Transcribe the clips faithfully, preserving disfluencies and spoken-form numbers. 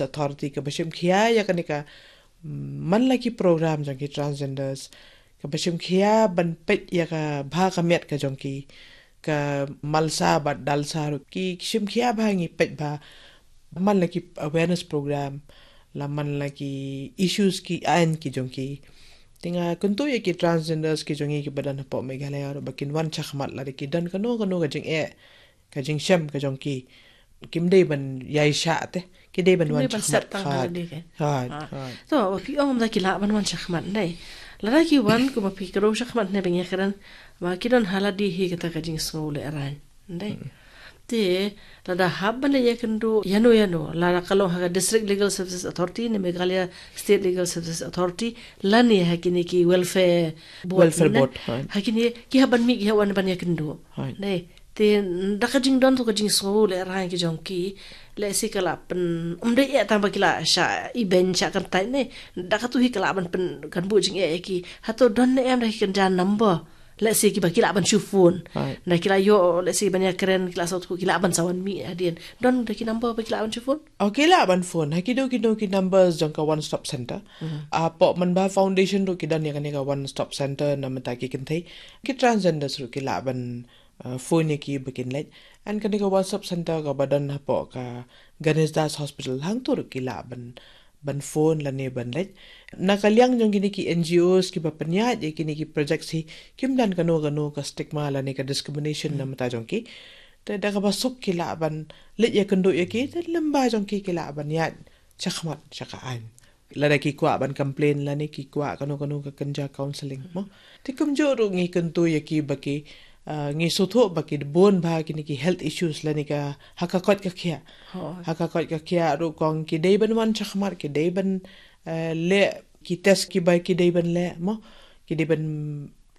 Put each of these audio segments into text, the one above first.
Authority kaba shim khia ïa kane ka, mm, man la ki program jong ki transgenders, kaba shim khia ban peit ïa ka bha ka miat ka jong ki, ka malsa bad dalsa ruh ki shim khia bha ngi peit bha, man la ki awareness program, la man la ki issues ki aiñ ki jong ki. Te nga kyntu ïa ki transgenders ki jong ngi kiba don hapoh Meghalaya ruh ba kin wan shakhmat lada ki don kano kano ka jingeh, ka jingshem ka jong ki. Kim dei ban ïai shah te, ki dei ban wan shakhmat tang ha lade. Hooid, hooid. To, ba phi ong ba ki lah ban wan shakhmat, dei. Lada ki wan kumba phi kdew shakhmat ne ba ngi kren, ba ki don ha lade hi kata ka jingsngew lehraiñ, dei. Te lada hap ban leit ïakynduh ïano ïano, lada ka long ha ka District Legal Services Authority ne Meghalaya State Legal Services Authority, lane ha kine ki welfare board, welfare board, hooid. Ha kine ki hap ban mih, ki hap wan ban ïakynduh. Hooid. Dei. Te da ka jingdon to ka jingsngew lehraiñ ki jong ki, lehse ka lah pyn, ym dei eh tang ba ki lah shah ibeiñ shah kyntait ne. Da katu hi ka lah ban pynkan buh jingeh ïa ki. Hato don ne em da ki kynja number, lehse kiba ki lah ban shu phone. Hooid. Da ki lah ïoh, lehse ban ïakren, ki lah sngewthuh, ki lah ban sa wan mih hadien. Don da ki number ba ki lah ban shu phone? Oh, ki lah ban phone. Ha kino kino ki numbers jong ka One Stop Center. Hapoh Manbha Foundation ruh ki don ïa kane ka One Stop Center namar ta ki kynthei. Ki transgenders ruh ki lah ban, uh, phone ïa ki ba kin leit. And kane ka One Stop Center kaba don hapoh ka Ganesh Das Hospital, hangto ruh ki lah ban, ban phone lane ban leit. Na ka liang jong kine ki N G Os kiba pynïaid ïa kine ki project hi, kim don kano kano ka stigma lane ka discrimination namar ta jong ki. Te da kaba suk ki lah ban leit ïakynduh ïa ki, te lyngba jong ki ki lah ban ïaid shakhmat sha ka aiñ. Lada ki kwah ban complain lane ki kwah kano kano ka kynja counselling mo. Te kumjuh ruh ngi kyntu ïa ki ba ki, uh, ngi sngewthuh ba ki bun bha kine ki health issues lane ka ha ka koit ka khiah. Hooid. Ha ka koit ka khiah ruh kong ki dei ban wan shakhmat, ki dei ban, uh, leh ki test kiba ki dei ban leh mo. Ki dei ban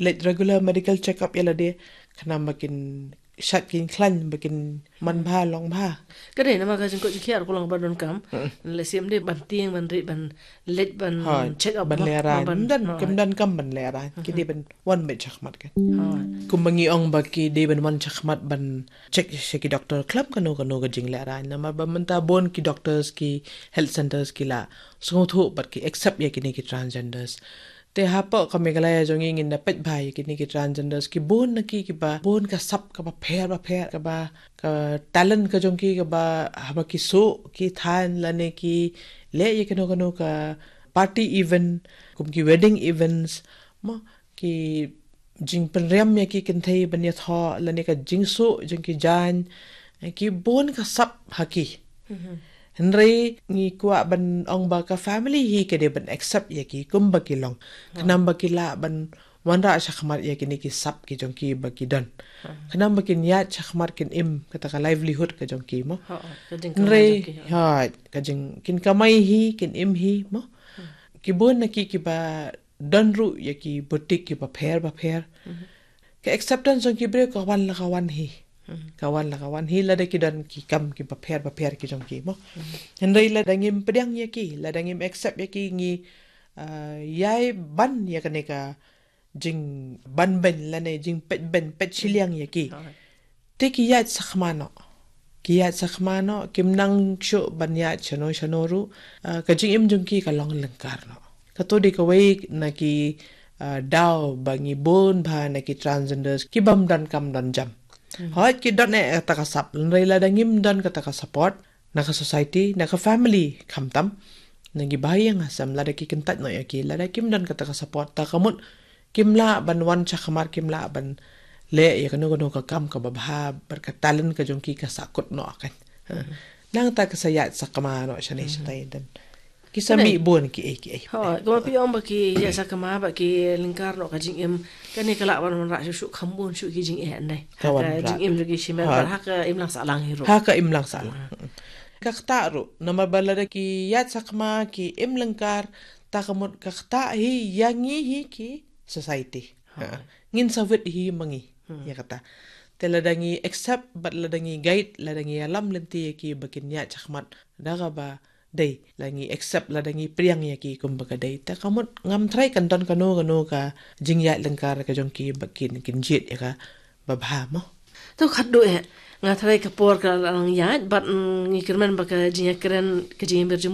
leit regular medical check up ïa lade, khnang ba kin shait, kin khlaiñ, ba kin man bha long bha. Ka dei namar ka jingkoit jingkhiah ruh ka long ba donkam. Lehse ym dei ban tieng ban rit ban leit ban check up ban lehraiñ. Ym don, ym don kam ban lehraiñ. Ki dei ban wan beit shakhmat kan. Kumba ngi ong ba ki dei ban wan shakhmat ban check sha ki doctor khlem kano kano ka jinglehraiñ. Namar ba mynta bun ki doctors, ki health centers ki la sngewthuh bad ki accept ïa kine ki transgenders. Te hapoh ka Meghalaya jong ngi ngin da peit bha ïa kine ki transgenders, ki bun na ki kiba bun ka sap kaba pher ba pher, kaba ka talent ka jong ki kaba haba ki suh ki thaiñ lane ki leh ïa kano kano ka party event, kum ki wedding events mo, ki jingpynriam ïa ki kynthei ban ïathoh lane ka jingsuh jong ki jaiñ, ki bun ka sap ha ki. Hynrei ngi kwah ban ong ba ka family hi ka dei ban accept ïa ki kumba ki long. Khnang ba ki lah ban wanrah shakhmat ïa kine ki sap ki jong ki ba ki don. Khnang ba kin ïaid shakhmat, kin im, kata ka livelihood ka jong ki mo. Hynrei ha ka jing kin kamai hi, kin im hi mo. Ki bun na ki kiba don ruh ïa ki boutique kiba pher ba pher. Ka acceptance jong ki briew ka wan la ka wan hi. Ka wan la ka wan hi lada ki don ki kam kiba pher ba pher ki jong ki mo. Hynrei lada ngim pdiang ïa ki, lada ngim accept ïa ki, ngi, ah, ïai ban ïa kane ka jingban beiñ lane jingpeit beiñ, peit shiliang ïa ki. Te ki ïaid shakhmat noh. Ki ïaid shakhmat noh, kim nang shuh ban ïaid shano shano ruh. Ah, ka jingim jong ki ka long lyngkar noh. Kato dei kawei na ki, ah, daw ba ngi bun bha na ki transgenders ki bym don kam don jam. Hooid ki don eh kata ka sap, hynrei lada ngim don kata ka support na ka society, na ka family khamtam, na ki bahaïing hasem, lada ki kyntait noh ïa ki, lada kim don kata ka support, ta ka mut kim lah ban wan shakhmat, kim lah ban leh ïa kano kano ka kam kaba bha, bad ka talent ka jong ki ka sahkut noh kan. Nangta ka sa ïaid shakhmat noh shane shatai, don ki sa mih bun kiei kiei. Hooid, kumba phi ong ba ki ïaid shakhmat bad ki lyngkar noh ka jingim, kane ka lah ban wanrah shuh shuh kham bun shuh ki jingeh, hynrei ka jingim jong ki shimet bad ha ka imlang sahlang hi ruh. Ha ka imlang sahlang. Ka ktah ruh, namar ba lada ki ïaid shakhmat, ki im lyngkar, ta ka mut ka ktah hi ïa ngi hi ki society. Ngin sa wit hi ma ngi ïa kata. Te lada ngi accept bad lada ngi guide, lada ngi ïalam lynti ïa ki ba kin ïaid shakhmat da kaba dei, lada ngi accept, lada ngi pdiang ïa ki kumba ka dei, ta ka mut ngam tharai kan don kano kano ka jingïaid lyngkar ka jong ki ba kin, kin jied ïa kaba bha mo. To khatduh eh. Nga tharai ka por ka la nang ïaid, bad mm, ngi kyrmen ba ka jingïakren, ka jingïamir jingmut